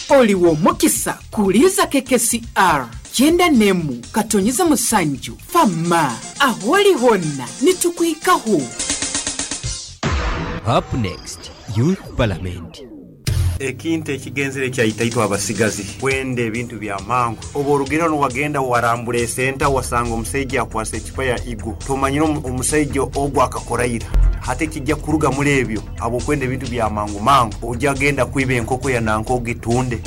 Oli w'omukisa kuhuliriza KKCR kyenda n'emu katonyeza musanju Fama ah'ori hoona nitukuhikaho. Up next, Youth Parliament. Ekintu ekigenzere kyaita itwe abasigazi kwenda ebintu bya mangu. Oba orugireho niwagenda warambura esenta wasanga omusaija akwase ecupa ya Eagle. Tomanyire omusaija ogu akakora ira. Hati ekija kuruga muli ebyo habw'okwenda ebintu bya mangu mangu, oja genda kwiba enkoko ya nanka ogitunde.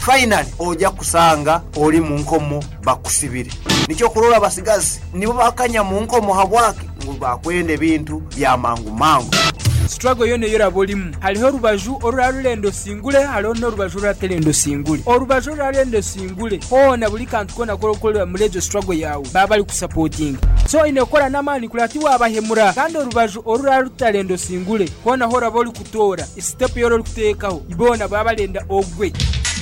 Finally oja kusanga ori mu nkomo bakusibire. Nikyo okurora abasigazi nibo bakanya mu nkomo habwaki? Ngu bakwenda ebintu bya mangu mangu. Struggle yoona ei oraba orimu, hariho orubaju orurarurenda osingure hariho n'orubaju oruraterenda osingure. Orubaju orurarenda osingure hoona buri kantu koona aku orikukorera muri egyo struggle yaawe baba barikusapotinga. So oine kukora n'amaani kureba tiwabahemura. Kandi orubaju orurarutarenda osingure hoona ahu oraba orikutoora, step ei orikuteekaho boona baba barenda ogwe.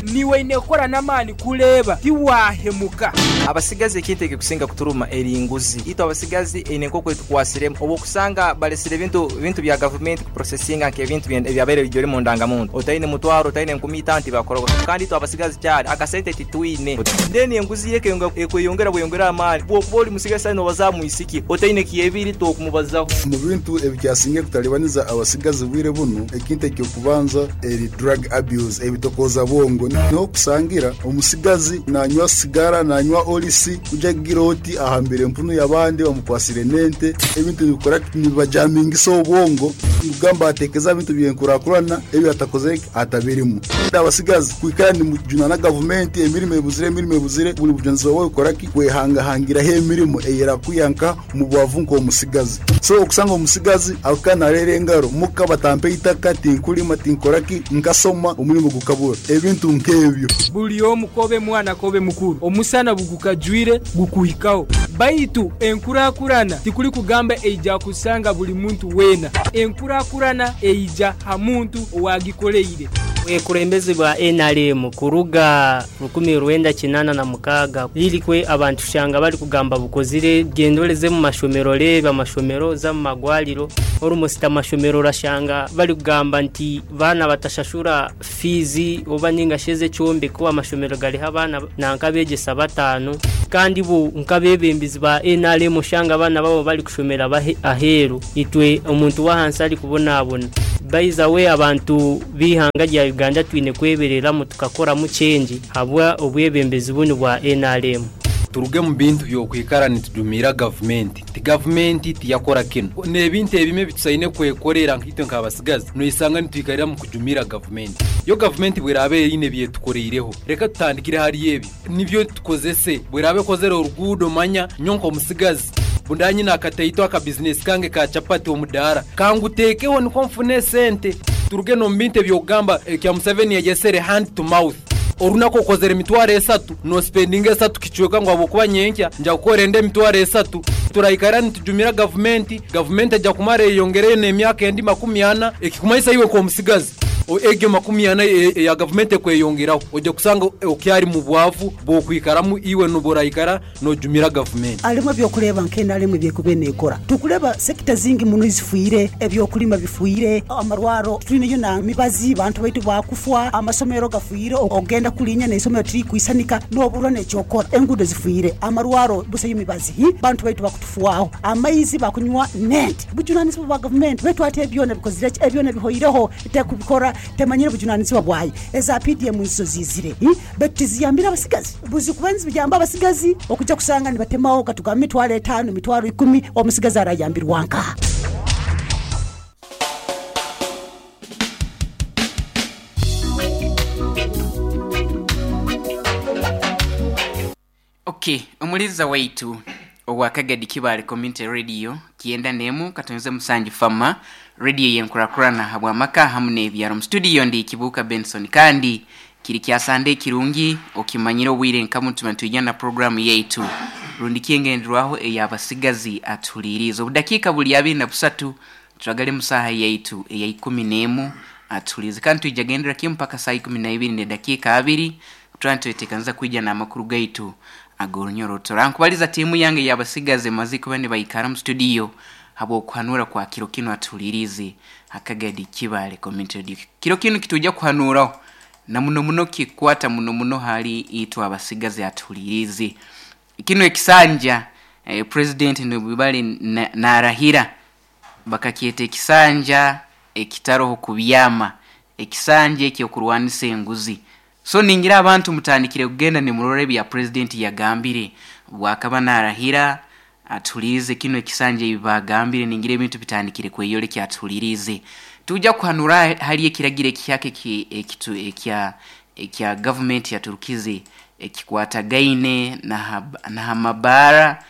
Niiwe oine kukora n'amaani kureeba tiwaahemuka. Abasigazi ekintu ekikusinga kuturuma eri nguzi. Itwe abasigazi eine nkoku etukwasiremu obu okusanga balesire ebintu bintu bya gavumenti kuprosesinga nk'ebintu ebyabaire bijwire mu ndangamuntu. Otaine mutwaro, otaine enkumi itaano tibakukora kandi itwe abasigazi kyari akasente titwine. Then enguzi yo ekweyongera bweyongera amaani. Bwokuba ori musigazi saaha nobaza aha mwisiki otaine kyebiri tokumubazaho. Omu bintu ebikyasingire kutalibaniza abasigazi bwire bunu, ekintu eky'okubanza eri drug abuse, ebitokooza bwongo. Niho okusangira omusigazi nanywa sigara, nanywa olisi, kuja kugira oti ahambire empunu y'abandi bamukwasire n'ente. Ebintu nibikora ki? Nibibajamingisa obwongo, nikugamba ateekeza aha bintu by'enkurakurana ebi atakozire ki? Atabirimu. Abasigazi kwikara nimujunana gavumenti, emirimo ebuzire, emirimo ebuzire, buri bujunanizibwa bwawe kukora ki? Kwehangahangiraho emirimo eyerakwiha nka omu bwavu nk'omusigazi. So okusanga omusigazi akaba nareera engaro muka batampa eitaka, tinkurima, tinkora ki, nkasoma omurimo gukabura. Ebintu nk'ebyo. Buri omu k'obe mwana k'obe mukuru, omusana bugukajwire gukuhikaho. Baitu enkurakurana tikuri kugamba eija kusanga buri muntu weena. Enkurakurana eija ha muntu owagikoreire. Obwekurembezi bwa nrm kuruga 1986 lirikwe abantu shanga bari kugamba bukozire genda oreze mu mashomero oreebe amashomero oze mu magwariro almost amashomero orashanga bari kugamba nti baana batashashura fiizi oba ninga shi ez'ekyombeko amashomero gariho abaana nanka abegyesa bataano kandi bo nk'abebembezi ba nrm oshanga abaana baabo bari kushomera aheeru itwe omuntu w'ahansi ari kubonabona. By the way abantu b'eihanga rya Uganda twine kwebereramu tukakoramu change habwa obwebembezi bunu bwa nrm. Turuge mu bintu by'okwikara nitujumiira gavumenti nti gavumenti tiyakora kinu. N'ebintu ebimwe ebi tusaine kwekorera nkaitwe nk'abasigazi noisanga nitwikarira mu kujumiira gavumenti. Yo gavumenti bw'eraaba eine ebi etukoreireho, reka tutandikire hali ebyo nibyo tukozese. Bw'eraaba ekozere oruguudo manya nyowe nk'omusigazi bundaba nyine akataito akabizinesi kange ka chapati omudaara, kanguteekeho nikwo nfune esente. Turuge n'omu bintu eby'okugamba ekya Museveni yayesere hand to mouth. Orunaku okozere emitwaro esatu, nosipendinga esatu kicweka ngu ahabw'okuba nyenkya nja kukora endi emitwaro esatu. Turaikara nitujumira gavumenti, gavumenti eja kumara eyeyongereyo n'emyaka endi makumi ana, ekikumanyisa iwe nk'omusigazi egyo makumi ana eya gavumenti ekweyongeraho, oja kusanga okyari mu bwavu bw'okwikaramu iwe nobu oraikara Nojumira gavumenti. Harimu eby'okureeba nka NRM eby'ekubaire neekora. Turikureeba sekita zingi muno ezifiire, eby'okurima bifiire, amarwaro titwineyo na mibazi, bantu baitu baakufwa, amasomero gafiire, ogenda kurinya n'eisomero tirikwisanika n'oburwa n'eky'okukora. Enguudo zifiire, amarwaro busayo mibazi, bantu baitu bakutufwaho, amaizi bakunywa n'ente. Bujunanizibwa bwa gavumenti beitu hati ebyona bikozire ki? Ebyona bihoireho, tekubikora, temanyire bujunanizibwa bwayo. Eza PDM nizo ziizire beitu tiziyambire abasigazi. Buzikuba niziyamba abasigazi okuja kusanga nibatemaho katugambe emitwaro etaano, emitwaro ikumi, omusigazi arayambirwa nkaha? Ok, omuliza waitu owa Kagadi Kibaale Community Radio kyenda n'emu katonze musanju Fama Radio y'enkurakurana habw'amaka hamu n'ebyaro. Mu studio ndi Kibuuka Benson kandi Kiri kya Sande kirungi okimanyire obwire nka bunu tuba nitwija na puroguramu yaitu rundi ki engenderwaho ey'abasigazi atuhuliiriize. Obudakiika buli abiri na busatu turagale mu saaha yaitu eya ikumi n'emu atuhuliirize kandi twija gendera kimu mpaka saaha ikumi na ibiri n'edakiika abiri turaba nitweteekaniza kwija n'amakuru gaitu ag'orunyoroto. Rankubaliza tiimu yange ey'abasigazi emaze kuba nibaikara mu studio habw'okuhanura kwa kiro kinu atuhuliiriize ha Kagadi Kibaale Community Radio. Kiro kinu kitwija kuhanuuraho. Na muno muno kikukwata muno muno hali itwe abasigazi atuhuliriize. Kinu ekisanja president nibibali narahira bakakyeta ekisanja ekitaroho kubyama, ekisanja ekyokurwanisa enguzi. So ningira abantu mutandikire kugenda nimurora ebya president yagambire bwakaba narahira atuhulirize kinu ekisanja ebi bagambire, ningira ebintu bitandikire kweyolekya atuhulirize. Tujja kuhanura hali ekiragiro ekihyaka ekitu ekya ekya gavumenti yaturukize ekikwatagaine na hamabaara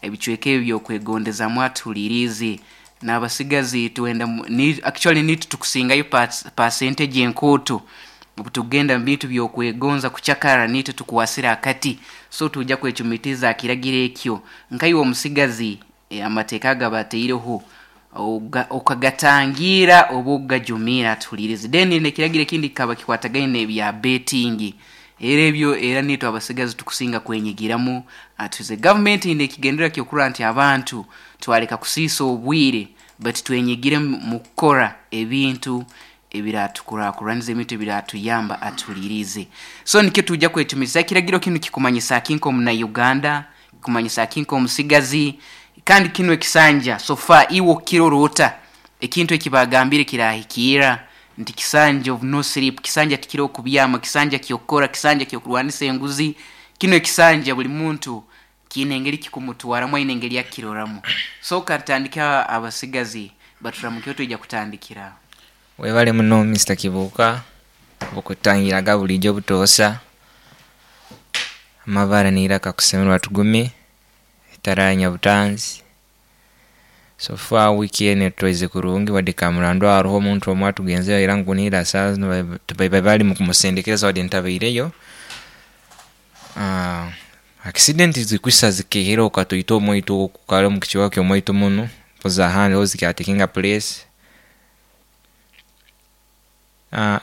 ebicweka ebi by'okwegondezamu atuhulirize. N'abasigazi twenda ni, actually nitwe tukusingayo percentage enkooto obu tukugenda mu bintu by'okwegonza kucakara nitwe tukwasire akati. So tujja kwecumitiza aha kiragiro ekyo nkaiwe omusigazi amateeka agabateireho okagatangira oba okugajumiira atuhulirize. Then n'ekiragiro ekindi kikaba kikwatagaine n'ebya betting, era ebyo era nitwe abasigazi tukusinga kwenyigiramu atuhize. Gavumenti eine ekigendererwa ky'okurora nti abantu twareka kusiisa obwire but twenyigire mu kukora ebintu ebiratukurakuraniza, ebintu ebiratuyamba atuhulirize. So nikyo tujja kwecumitiriza. Ekiragiro kinu kikumanyisa ki nk'omunauganda, kikumanyisa ki nk'omusigazi, kandi kinu ekisanja so far iwe okukirora ota? Ekintu eki bagambire kirahikiira nti kisanja of no sleep, kisanja tikiroho kubyama, kisanja ky'okukora, kisanja ky'okurwanisa enguzi. Kinu ekisanja buli muntu kiine engeri kikumutwaramu, aine engeri akiroramu. So katutandike abasigazi baturamukeho twija kutandikira aho. Webale muno Mister Kibuuka okutangiraga bulijo obutoosa. Amabara neiraka kusemererwa tugume etara ya Nyabutanzi. So far wiiki enu etutwaize kurungi wadde Kamurandu haroho omuntu omu atugenzeho era nkunihira saaha zinu bali mukumusendekereza wadde ntabaireyo. Accident zikwisa zikehera okatoito omwaitu oku kare omu kicweka ky'omwaitu munu mpozi ahandi ho zikyatekinga place.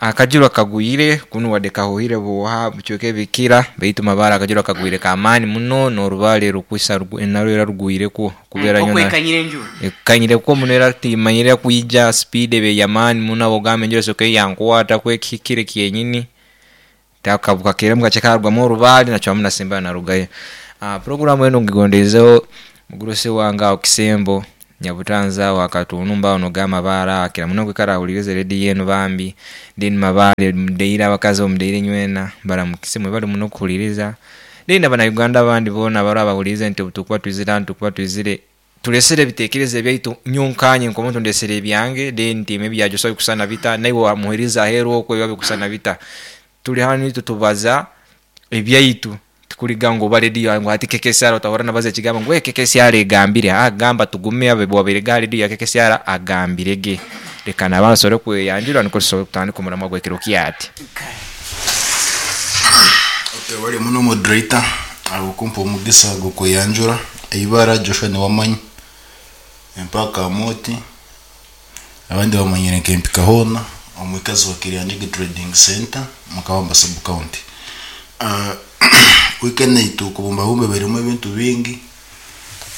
Akajura kagwire kunu wadde kahuhire buuha bicweka ebikira baitu Mabare akajura kagwire k'amaani muno n'orubaale rukwisa narwo era rugwirekwo kubera Oku ekanyire enjura. Ekanyire kwo muno era timanyire kwija sipiidi eba ey'amaani muno habw'okugamba enjura esoka eyankwataku ekihikire kyenyini. Takabuka kakye karugwamu orubaale nacwamu nasembayo narugayo. Puroguramu enu ngigondeizeho mugurusi wange aho Kisembo Nyabutanzi aho Akatunumba aho noga Mabaare aho akira muno kwikara ahulirize rediyo enu bambi. Then Mabaare mudeire abakazi omudeire nywena baramukise mwebale muno okuhuliriza. Then na banauganda abandi boona abaraba bahuliirize nti obutukuba twizire hanu tukuba twizire Tulesere ebitekerezo ebyaitu, nyowe nkanye nk'omuntu ndesere ebyange, then ntiime ebya Joshua bikusana bita, naiwe wamuherize aheru okwo ebiba bikusana bita. Tuli hanu itwe tubaza ebyaitu, tikuriga ngu oba rediyo ngu hati KKCR otahurra nabaza ekigambo ngu KKCR egambire, haa gamba tugume owabaire aha rediyo ya KKCR agambire ge. Leka nabantu asobole kweyanjura nikwo tusobole kutandika omuramwa gw'ekiro kyati. Webale muno moderator ahabw'okumpa omugisa gw'okweyanjura. Eibara Joshua Niwamanyi, empaka Amooti, abandi bamanyire nka Empika hoona, omwikazi wa Kiryanjigi Trading Centre omu Kabamba Sub County. Wiiki enu kubumbabumba ebairemu ebintu bingi,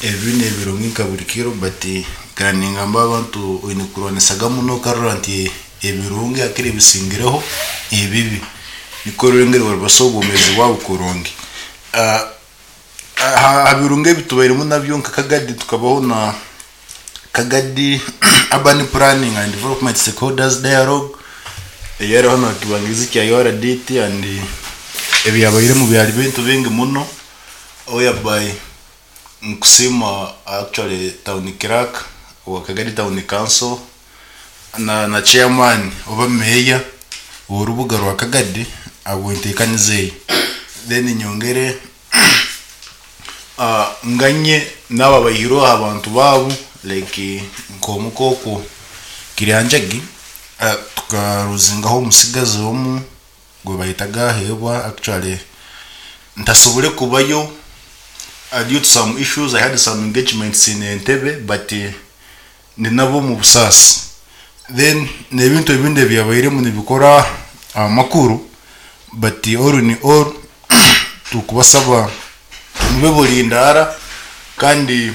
ebibi n'ebirungi nka buri kiro but nkaba ningamba abantu oine kurwanisaga muno okarora nti ebirungi hakiri bisingireho ebibi nikwo orore engeri orikubaasa obwomeezi bwawe kurungi. Aha birungi ebi tubairemu nabyo nka Kagadi tukabaho na Kagadi Urban Planning and Development Stakeholders Dialogue eyariho na kibangirizi kya URDT and ebyabairemu byari bintu bingi muno whereby nkusiima actually town clerk owa Kagadi Town Council na chairman oba meeya w'orubuga rwa Kagadi ahabw'enteekaniza egi. Then nyongere nganye n'abo abaihirwe aha bantu baabo like nk'omuka okwo Kiryanjagi tukaruzingaho omutsigazi omwe gwe bayetaga Aheebwa actually ntasobole kubayo due to some issues I had some engagements in Entebbe but ndi nabo omu busaasi. Then n'ebintu ebindi ebyabairemu nibikora amakuru but all in all tukubasaba mube burindaara kandi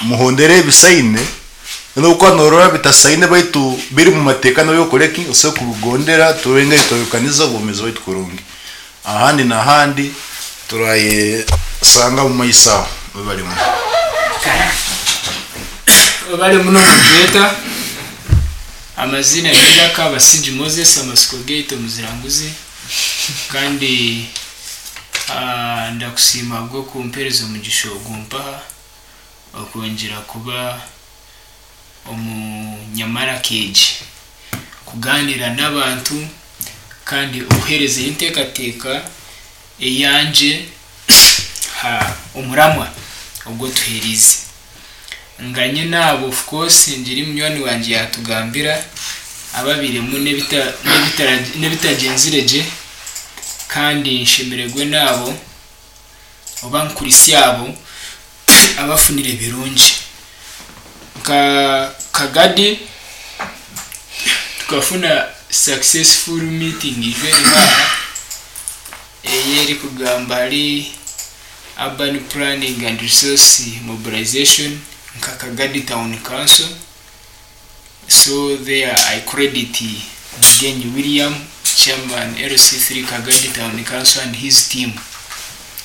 muhondere ebisaine. N'obu okuba norora bitasaine baitu biri mu mateeka nabyo okore ki? Osobola kubigondera turore engeri twayukaniza obwomeezi bwaitu kurungi. Ahandi n'ahandi turayesanga omu maiso aho. Webale muno. Webale muno moderator. Amaziina n'eiraka Basigi Moses amatsiko gaitu omuziranguzi kandi ndakusiima ahabw'okumpereza omugisha ogu mpaha okwongyera kuba omunyamaraka egi kugaaniira n'abantu kandi okuheerezayo enteekateeka eyangye aha omuramwa ogu otuheereize. Nganye naabo of course ngire munywani wangye yaatugambira ababairemu n'ebitagyenzire gye kandi nshemererwe naabo oba nkurisye abo abafunire birungi. Nka Kagadi tukafuna successful meeting ijo eriho aha ei erikugamba ahari Urban Planning and Resource Mobilization nka Kagadi Town Council. So there I credit Mugenyi William, Chairman LC3 Kagadi Town Council and his team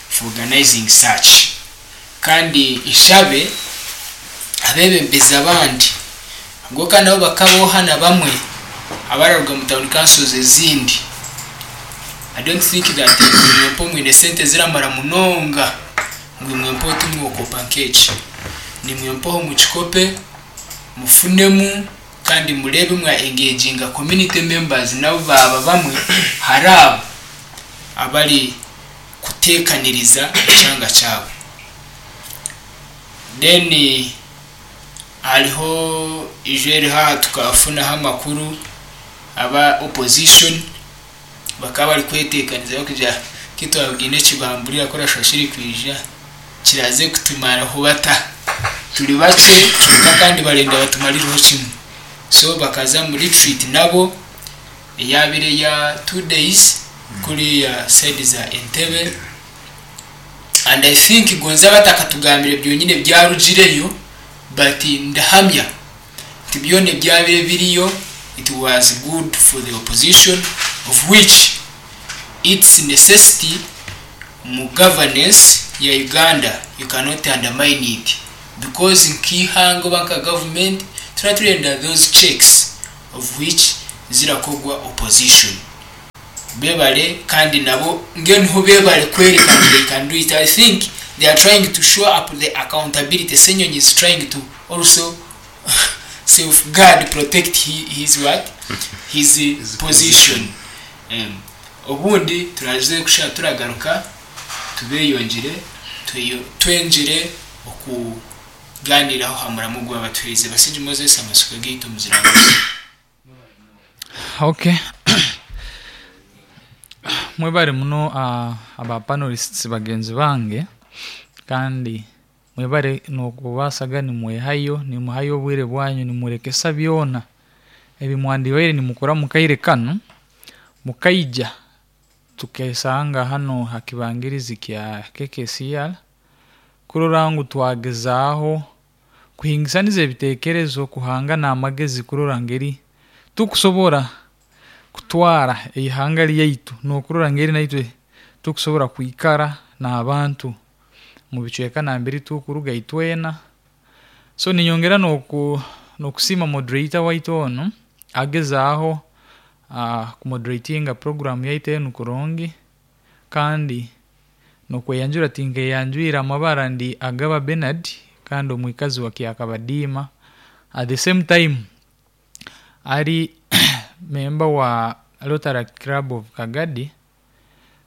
for organizing such. Kandi nshabe abebembezi abandi ahabw'okuba nabo bakaboha na bamwe abararuga mu town councils ezindi. I don't think that ngu imwe mpo mwine sente eziramara munonga ngu imwe mpo timwokopa nk'eki. Nimwe mpoho mukikope. Mufunemu kandi mureebe mwa engaginga community members nabo baaba bamwe ahari abo abari kuteekaniriza ekyanga kyabo. Then hariho ijo eriho aha tukafunaho amakuru aba opposition bakaba bari kweteekaniza barikugira kitwabwine ekibamburi ku orashusha kirikwija. Kiraze kutumaraho bata? Turi bakye kwonka kandi barenda batumarireho kimwe. So bakaza omu retreat nabo eyabaire eya 2 days kuriya side za Entebbe and I think gonza batakatugambire byonyine ebyarugireyo but ndahamya nti byona ebyabaire biriyo it was good for the opposition of which its necessity Omu governance ya Uganda you cannot undermine it because nk'eihanga oba nka government turaba turenda those checks of which zirakorwa opposition. Bebare kandi nabo mbwenu ho bebare kwereka ngu they can do it. I think they are trying to show up the accountability, Ssenyonyi is trying to also safeguard, protect his what? His position. Obundi turaze kushaba turagaruka tubeyongyere twengyere okuganiiraho aha muramo ogu babatuherize. Basingye Moses amatsiko gaitu omuziranguzi. Ok mwebare muno aba panelists bagyenzi bange kandi Mwebare n'okubaasa nimwehayo, nimuhayo obwire bwanyu nimurekesa byona ebi mwandibaire nimukora omu kaire kanu, mukaija tukesanga hanu ha kibangirizi kya KKCR kurora ngu twagezaaho kuhingisaniza ebiteekerezo, kuhangana amagezi kurora ngeri tukusobora kutwara eihanga ryaitu n'okurora ngeri naitwe tukusobora kwikara n'abantu omu bicweka nambere tukuruga itwena. So ninyongera n'oku n'okusiima moderator waitu onu agezaaho kumoderatinga program yaitu enu kurungi kandi n'okweyanjura tinkeyanjwire amabara ndi Agaba Bernard kandi omwikazi wa Kyakabadiima at the same time ari member wa Rotaract Club of Kagadi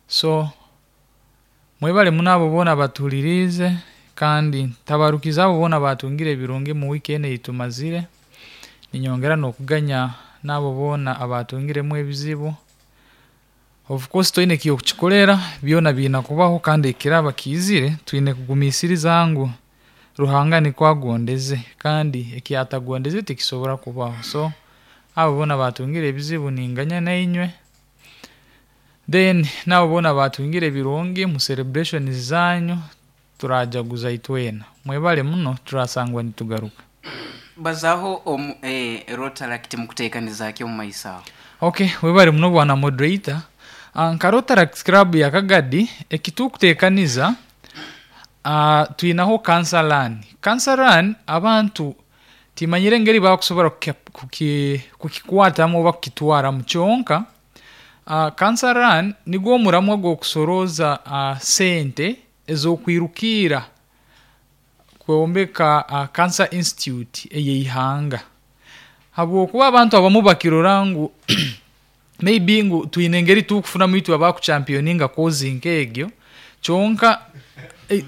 so Mwebale muno abo boona abatuhuririize kandi ntabarukize abo boona abaatungire ebirungi omu wiiki enu ei tumazire. Niinyongera n'okuganya n'abo boona abaatungiremu ebizibu. Of course toine eki orikukikorera, byona biine kubaho kandi ekiraba kiizire, twine kugumiisiriza ngu Ruhanga nikwo agondeze kandi eki atagondeze tikisobora kubaho. So abo boona abaatungire ebizibu ninganya nainywe. Then naabo boona abaatungire ebirungi mu celebrations zaanyu turajaguza itwena. Mwebale muno turasangwa nitugaruka. Bazaaho omu eh, Rotaract mukuteekaniza ki omu maiso aho? Ok, webare muno bwana moderator. Nka Rotaract Club ya Kagadi, ekitukuteekaniza, twinaho Cancer Run. Cancer Run abantu timanyire engeri bakusobora kukikwatamu oba kukitwaramu kyonka, Cancer Run nigwo omuramwa gw'okusorooza sente ez'okwirukiira kwombeka Cancer Institute ey'eihanga. Habwokuba abantu abamu bakirora ngu maybe ngu twine engeri tukufunamu itwe abakuchampioninga cause nk'egyo, kyonka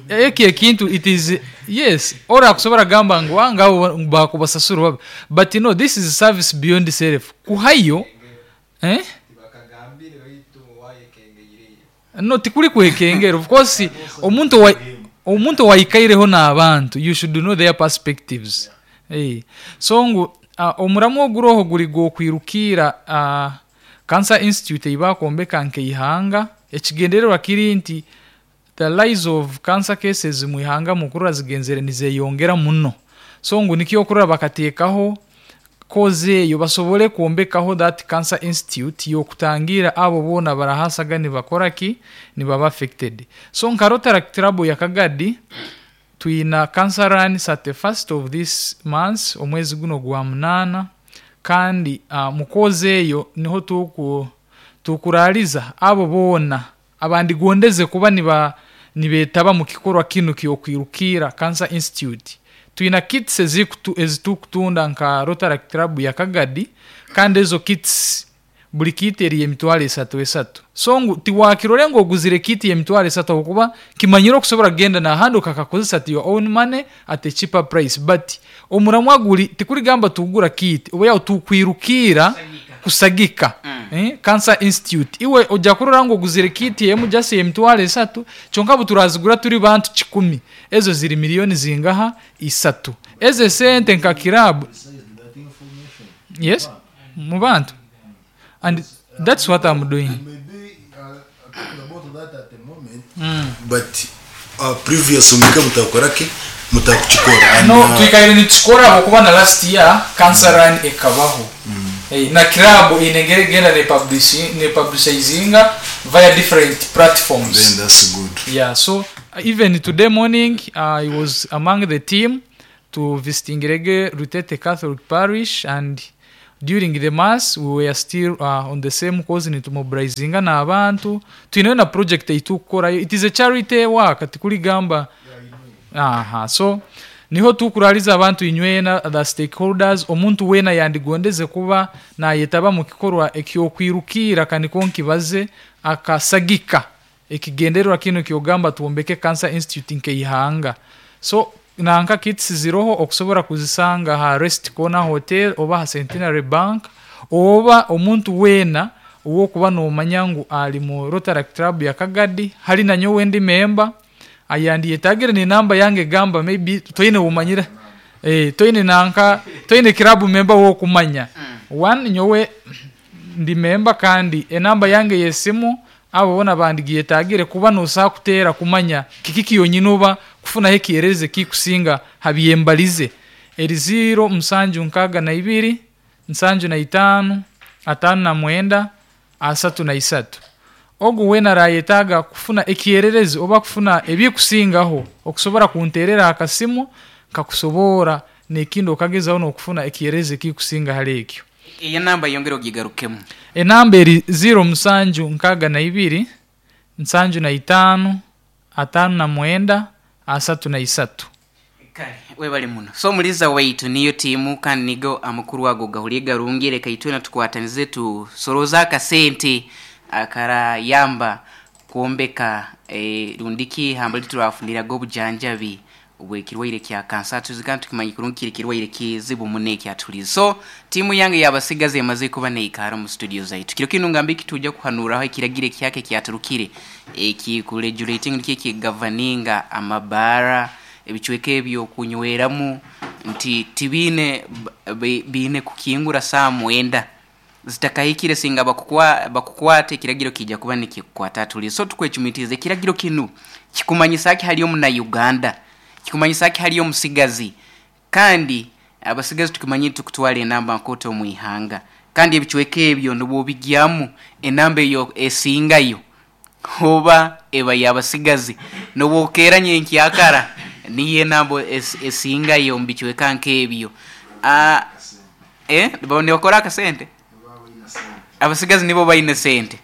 ekyo ekintu it is yes, ori akusobora kugamba ngu ah ngabo bakubasasura babi, but no this is service beyond self, kuhayo eh. No tikuri kwekengera of course omuntu owa omuntu owaikaireho n'abantu you should know their perspectives eh so ngu omuramwa oguroho guri gw'okwirukiira Cancer Institute ei baakwombeka nk'eihanga ekigendererwa kiri nti the rise of cancer cases mu ihanga mukurora zigenzere nizeyongera muno so ngu nikyo okurora bakateekaho Cause eyo basobole kwombekaho that cancer institute yokutangira abo boona abarahasaga nibakora ki nibaba affected. So nka Rotaract Club ya Kagadi twina cancer run 31st of this month omwezi guno ogwa munaana kandi mu cause eyo niho tuku tukurariza abo boona abandigondeze kuba niba nibetaba mu kikorwa kinu ky'okwirukiira Cancer Institute. Twina kits ezitukutunda nka Rotaract Club ya Kagadi kandi ezo kits buri kit eri y'emitwaro esatu esatu. So ngu tiwakirore ngu oguzire kit y'emitwaro esatu ahabw'okuba kimanyire okusobora kugenda n'ahandi okakakozesa at your own money at a cheaper price but omuramwa guri tikurigamba tugura kit oba yaho tukwirukiira kusagika Cancer Institute. Iwe oja kurora ngu oguzire kit emu just ey'emitwaro esatu kyonka obuturazigura turi bantu kikumi ezo ziri million zingaha? Isatu. Ezo esente nka club yes mubantu and that's what am doing. But previous mwika mutakora ki mutakukikora and No, twikaire nitukikora ahabw'okuba na last year cancer run ekabaho. Na club eine engeri egenda ne publishinga via different platforms. Then that's good. Yeah, so even today morning I was among the team to visitingirege Rutete Catholic Parish and during the mass we were still on the same cause nitumobilizinga n'abantu twineyo na project ei tukukorayo it is a charity work tikurigamba aha so niho tukurariza abantu inywena the stakeholders omuntu weena yandigondeze kuba nayetaba mu kikorwa eky'okwirukiira kaniko nkibaze akasagika ekigendererwa kinu kyogamba twombeke Cancer Institute nk'eihanga so nanka kits ziroho okusobora kuzisanga aha Rest Corner Hotel oba aha Centenary Bank oba omuntu weena ow'okuba nomanya ngu ari mu Rotaract Club ya Kagadi hari nanyowe ndi member ayandiyetagire n'enamba yange gamba maybe toine owomanyire toine nanka toine club member ow'okumanya one nyowe ndi member kandi enamba yange y'esimu abo boona bandigiyetagire kuba nosobola kuteera kumanya kiki kyonyini oba kufunaho ekyererezi ekikusinga ha byembalize eri ziiro musanju nkaaga na ibiri nsanju na itaano ataano na mwenda asatu na isatu. Ogu weena arayetaaga kufuna ekyererezi oba kufuna ebikusingaho okusobora kunteerera akasimu nkakusoboora n'ekindi okagezaho n'okufuna ekyererezi ekikusinga hali ekyo. Eyo enamba yongera ogigarukemu. Enamba eri ziiro musanju nkaaga na ibiri nsanju na itaano ataano na mwenda asatu na isatu. Kale webale muno. So omuliza waitu niyo tiimu kandi nigo amakuru ago gahuriire garungi reka itwena tukwatanize tusorooze akasente akarayamba kwombeka rundiki ihamba riturafuniraga obujanjabi obw'ekirwaire kya kansa tuzi kandi tukimanya kurungi kiri kirwaire kizibu muno ekyatuhuriize. So tiimu yange y'abasigazi emaze kuba neikara omu studio zaitu. Kiro kinu ngambe ekituja kuhanuraho ekiragiro ekihyaka ekyaturukire ekikuregulating nikyo ekigavaninga amabaara ebicweka eby'okunyweramu nti tibiine biine kukingura saaha mwenda zitakahikire singa bakukwata ekiragiro kiija kuba nikikukwata atulize. So tukwecumitiriza ekiragiro kinu kikumanyisa ki hali omuna Uganda? Kikumanyisa ki hali omusigazi? Kandi Abasigazi tukimanyire tukutwara enamba nkooto omu ihanga kandi ebicweka ebyo nobwobigyamu enamba eyo esingayo oba eba y'abasigazi nobwokeera nyenkyakara niyo enamba esingayo omu bicweka nk'ebyo. Nibakora akasente? Abasigazi nibo baine sente.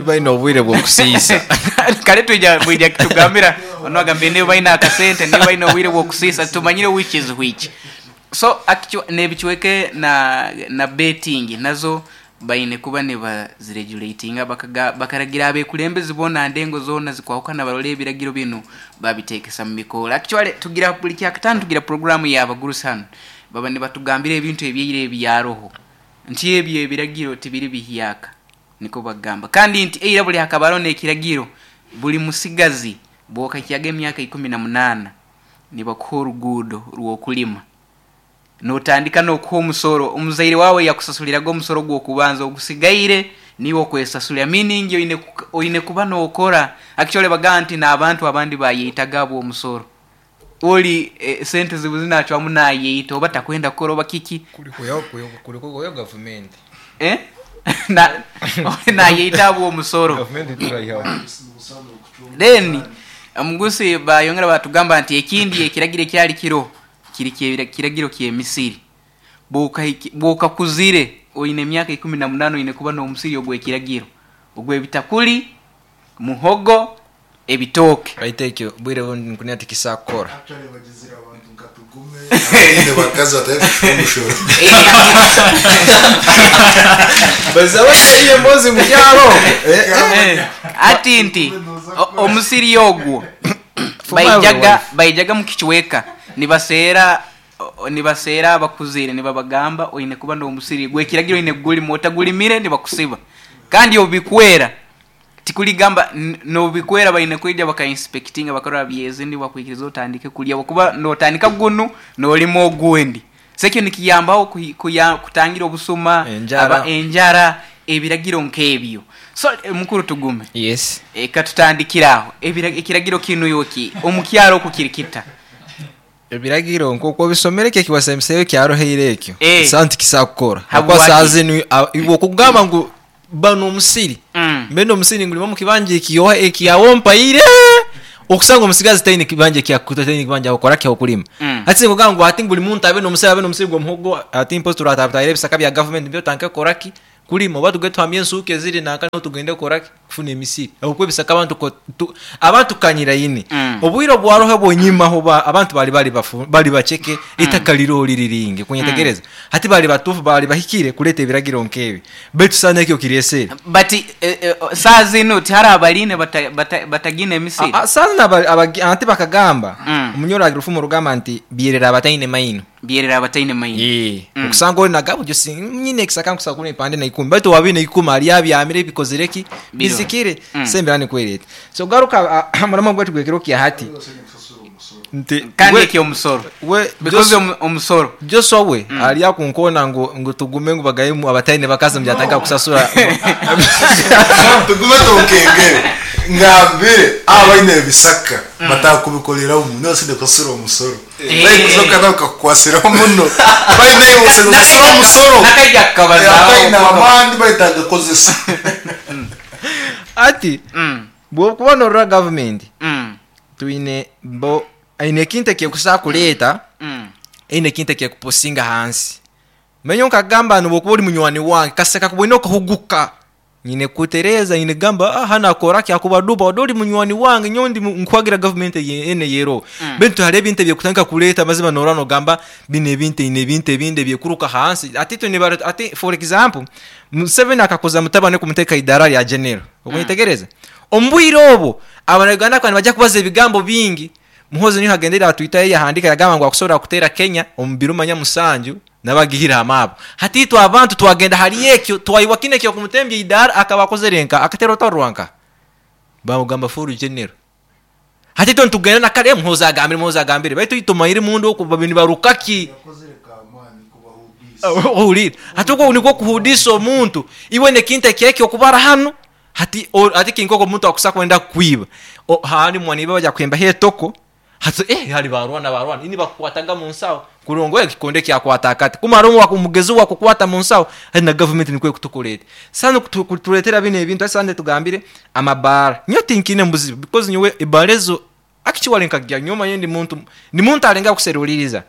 Baine obwire bw'okusiisa. Kare twija mwija kitugambira onu agambire nibo baine akasente nibo baine obwire bw'okusiisa titumanyire which is which. So n'ebicweka na na betting nazo baine kuba nibaziregulatinga bakaragira abekulembezi boona ndengo zoona zikwahukana barole ebiragiro binu babitekesa mu bikoora. Actually tugira buri kyakataano tugira puroguramu y'abagurusi hanu baba nibatugambira ebintu ebyaira ebyaroho nti ebyo ebiragiro tibiri bihyaka nikwo bakugamba. Kandi nti eira buri hakaba haroho n'ekiragiro buri musigazi bwokahikyaga emyaka 18 nibakuha oruguudo rw'okulima notandika n'okuha omusoro omuzaire waawe yakusasuliraga omusoro gw'okubanza ogusigaire niiwe okwesasulira meaning oine kuba nokora. Actually bagamba nti n'abantu abandi bayeitaga habw'omusoro. Oli sente zibuzi nacwamu nayeita oba takwenda kukora oba kiki. Kuri kuhwayo gavumenti. Nayeita habw'omusoro. Gavumenti turaihaho. Then omugusi bayongera batugamba nti ekindi ekiragiro ekyali kiroho kiri kiragiro ky'emisiri. Bwokakuzire oine emyaka 18 oine kuba n'omusiri ogw'ekiragiro ogw'ebitakuri, muhogo, ebitooke. Baitu ekyo bwire obundi nkunira tikisobola kukora. Hati nti omusiri ogwo baijaga mukicweka nibaseera nibaseera abakuzire nibabagamba oine kuba n'omusiri gw'ekiragiro oine kugulima otagulimire nibakusiba kandi obubikwera Tikuligamba nobikwera baine kwija baka inspectinga bakarora byeze nibakwikiriza otandike kulya habwokuba notandika gunu nolima ogundi. So ekyo nikiyambaho kutangira obusuma, Enjara. enjara, ebiragiro nk'ebyo. So mukuru Tugume. Yes. Katutandikire aho. Ekiragiro kinu iwe omu kyaro oku kiri kita? Ebiragiro nk'oku obisomere ekyo ekiwasembiseyo ekyaroheire ekyo, esaaha tikisobola kukora. Habwokuba Habwaki? saaha zinu iwe okugamba ngu ba n'omusiri, mbe n'omusiri ngulima omu kibanja ekyawe ompaire, okusanga omusigazi taine kibanja taine kibanja ahokora ki ah'okulima. Hati nikugamba ngu hati buri muntu abe n'omusiri abe n'omusiri gw'omuhogo, hati mpozi turatahire ebisaka bya gavumenti mbyo tutandike kukora ki? Kulima oba tugende tuhamye ensuuka eziri nanka niho tugende kukora ki? Kufuna emisiri. Ahabw'okuba ebisaka abantu ko tu abantu tukanyiraine. Obwire obwaroho obw'enyimaho ba abantu baali bari bafu bari baceke, eitaka riroho riri ringi. Okunyetegereza? Hati baali batuufu baali bahikire kureeta ebiragiro nk'ebi. Beitu saana ekyo kireesere. But saaha zinu tihariho abariine batagiine emisiri? Saaha zinu abagi anti bakagamba, Omunyoro agira orufumo orugamba nti, Byerera abataine maino. Byerera abataine maino. Okusanga ori naga buryo si nyine ekisaka nkusobola kulima ebipande na ikumi baitu owaba aine ikumi ari abyamire bikozire ki? Bizikire. So embeera nikwo eri eti. So garuka aha muramwa gwaitu gw'ekiro kya hati nti Kandi eky'omusoro. Because omusoro. Joshua we ari akunkoona ngu tugume ngu bagayemu abataine bakazi ngu yatandika kusasura. Tugume tunkengere ngambire abaine ebisaka batakubikoreramu nibo baine kusasura omusoro. Barikuza nawe bakakukwasiraho muno. Baine iwe oshemereire kusasura omusoro. Nakaija kukabazaho. Ataine amaani baitu agakozesa. Hati bwokuba norora gavumenti twine bo eine ekintu ekikusobola kureeta eine ekintu ekikupusinga ahansi. Manya nkagamba ngu bwokuba ori munywani wange kasita kakuboine okahuguka Nyine kukutereeza, nyine kugamba ah hanu akora ki akuba duba ode ori munywani wange nyowe ndi nkuhagira gavumenti eye enu eyeroho. Beitu hariho ebintu ebyekutandika kureeta amazima norora nogamba binu ebintu eine ebintu ebindi ebyekuruka ahansi. Hati itwe nibareta hati for example Museveni akakuza mutabani we kumuteeka aha idaara rya general. Okunyetegereza? Omu bwire obwo abanya-Uganda bakaba nibaija kubaza ebigambo bingi. Muhoozi niho agendire atwitayo yahandiika yagamba ngu akusobora kuteera Kenya omu biro manya musanju Nabagihire aha maapu. Hati itwe abantu twagenda hali ekyo, twaiwa kinu eky'okumutembya eidaara akaba akozere nka, akatera orutaro rwa nka? Bamugamba full general. Hati itwe nitugenda na kare, Muhoozi agambire, Muhoozi agambire, baitu itwe tumanyire munda oku babaire nibaruka ki? Ohuliire? Hati okwo nikwo kuhudiisa omuntu. Iwe n'ekintu eky'eki okubara hanu, hati hati kiri nk'oku omuntu akusa kwenda kukwiba. Handi mwaniiba baija kuhembaho etoko, Hati eh hali barwana barwana ini bakukwataga mu nsaho. Kurora ngu ekikonde kyakwata akati. Kumara omugezi wakukwata mu nsaho, hati na gavumenti nikwo ekutukora eti. Sande kutureetera binu ebintu, hati sande tugambire amabaara. Nyowe tinkiinemu buzibu because nyowe ebaara ezo actually nkagya nyowe omanyire ndi muntu, ndi muntu arengaho kuseruliiriza.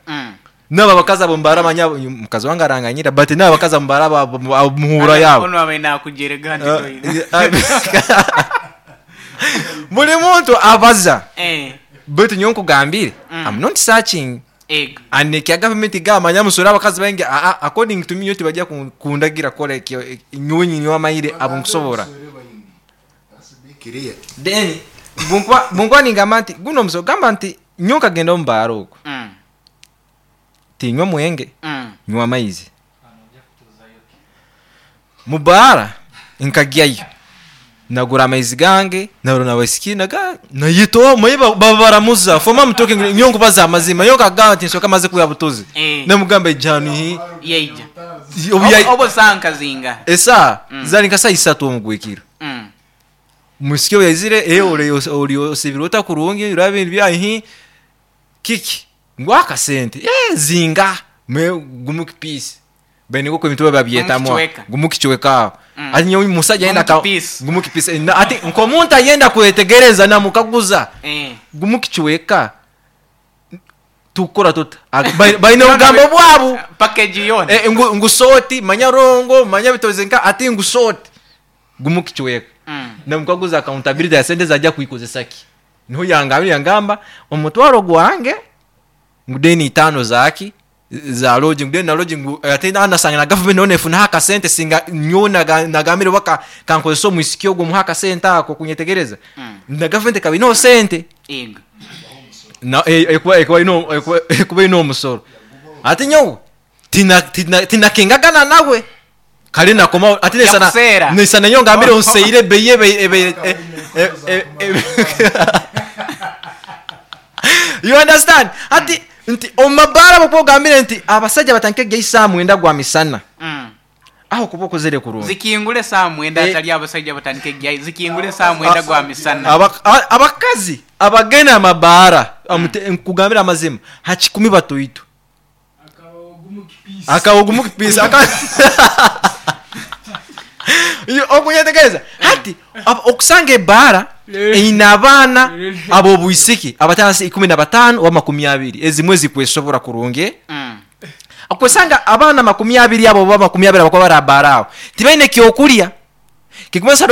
N'abo abakazi abo mbaara manya mukazi wange aranganyira but n'abo abakazi abo mbaara abo muhuura yaabo. Onu abaire nakujerega nti toine. Buri muntu abaza. Eh. Beitu nyowe nkugambire, I'm not searching. Ego. And ekya gavumenti gamba manya muswere abakazi baingi aa according to me nyowe tibajya kundagira kukora ekyo nyowe ninyowe amanyire abu nkusobora. Then bunkuba bunkuba ningamba nti gunu omusolo gamba nti nyowe nkagenda omu baara oku tinywa mwenge nywa amaizi. Mu baara nkagyayo nagura amaizi gange narora na wisiki naga nayeta omanye baba baramuza for me I'm talking nyowe nkubaza amazima nyowe nkagamba nti nsooke maze kwiha butozi Eh. namugamba ija hanu hi Yaija. Obu yai- Obu saaha nka zingaha? Esaaha zari nka saaha isatu omu gwekiro. Omwisiki obu yaizire eh ori ori osibire ota kurungi oraba ebintu byawe hi kiki ngu akasente eh zinga me gumu kipiisi baine nk'oku ebintu babyetamu aho Gumu kicweka. gumu kicweka aho hati nyowe omusaija Gumu yena aka kipiisi. gumu kipiisi eh, hati nk'omuntu ayenda kwetegereza namukaguza Eh. gumu kicweka tukukora tuta Ag- baine obugambo bwabu Package yoona. Eh, ngu, ngu soti manya rongo manya bitoze nka ati ngu soti gumu kicweka namukaguza accountability ya sente zajya kuikozesa ki niho yangambire yangamba omutwaro gwange ngu deni itaano zaki za lodging then na lodging ngu ate nasanga na government nayo nefunaho akasente singa nyowe nagambire oba kankozesa omwisiki ogwo muhe akasente ako kunyetegereza na government ekaba eineho sente Ego. na ekuba ekuba eine ekuba ekuba eine omusoro ati nyowe tina tina tinakengagana nawe kare nakomaho ati nesana Yakuseera. nesana nyowe ngambire onseire ebeyi ebe ebe e- e- e- e- you understand ati nti omu mabaara bwokuba ogambire nti abasaija batandike kugya isaaha mwenda gwa misana aho okuba okozere kurungi Zikingure saaha mwenda hatari abasaija batandike kugyayo zikingure saaha mwenda gwa misana. Abakazi abagenda amabaara nkugambire amazima ha kikumi batoito akaba ogumu kipiisa okunyetegereza hati okusanga ebaara eine abaana ab'obwisiki abatari ahansi ya 15 oba 20 ezimwe zikwesobora kurungi okwesanga abaana 20 abo oba 20 abakuba bari aha baara aho tibaine kyokurya. Kirikumanyisa